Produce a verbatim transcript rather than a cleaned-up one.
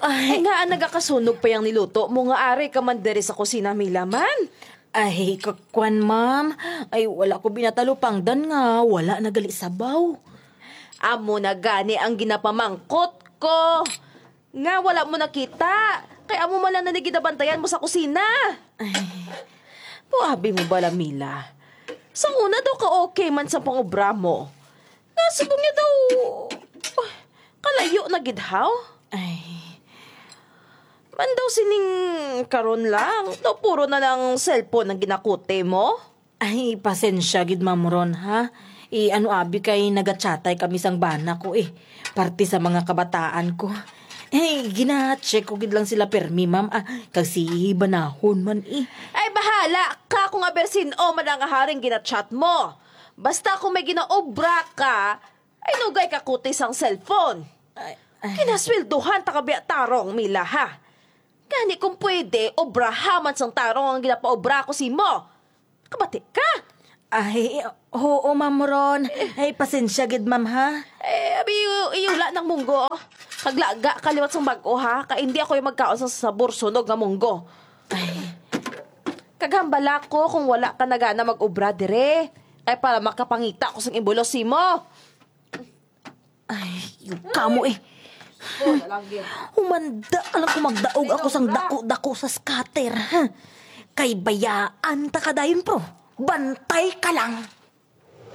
Ay, nga ang nagakasunog pa yang niluto mo nga ari ka man diri sa kusina, Mila man? Ay, kakwan, ma'am. Ay, wala ko binatalupangdan nga wala nagali sabaw. Amo na gani ang ginapamangkot ko. Nga wala mo nakita. Kay amo man lang na ginabantayan mo sa kusina. Ay, puabi mo bala, Mila. Sa una daw ka okay man sa pangobra mo. Nga subong niya daw, kalayo na gid, haw? Ay. Man daw sining karon lang, daw puro na lang cellphone ang ginakuti mo? Ay, pasensya gid, Ma'am Ron, ha? I-ano abi kay nagachatay kami sang bana ko, eh. Parte sa mga kabataan ko. Eh, gina-check ko gid lang sila permi, ma'am, ah, kag si banahon man, eh. Ay, bahala ka kung aber sin-o man ang haring ginachat mo. Basta kung may ginaobra ka, ay nugay ka kutis ang cellphone. Ay, ay. Kinasweldohan ta ka biya tarong, Mila, ha? Gani kung pwede, obraha man sang tarong ang ginapaobra ko simo. Kabati ka? Ay, oo, Ma'am Ron. Ay, pasensya gid, ma'am, ha? Eh, abi, iyula nang munggo. Kaglaga ka liwat sang bag-o, ha? Kay hindi ako yung magkaon sa sabor sunog nga munggo. Ay. Kaghambala ko kung wala ka na gana mag-obra dire. Kay para makapangita ko sang imbulos simo. Ay, yung kamo eh. Humanda ka lang kung magdaog ako sang dako-dako sa scatter, ha? Kay bayaan ta ka dayon, pro. Bantay ka lang.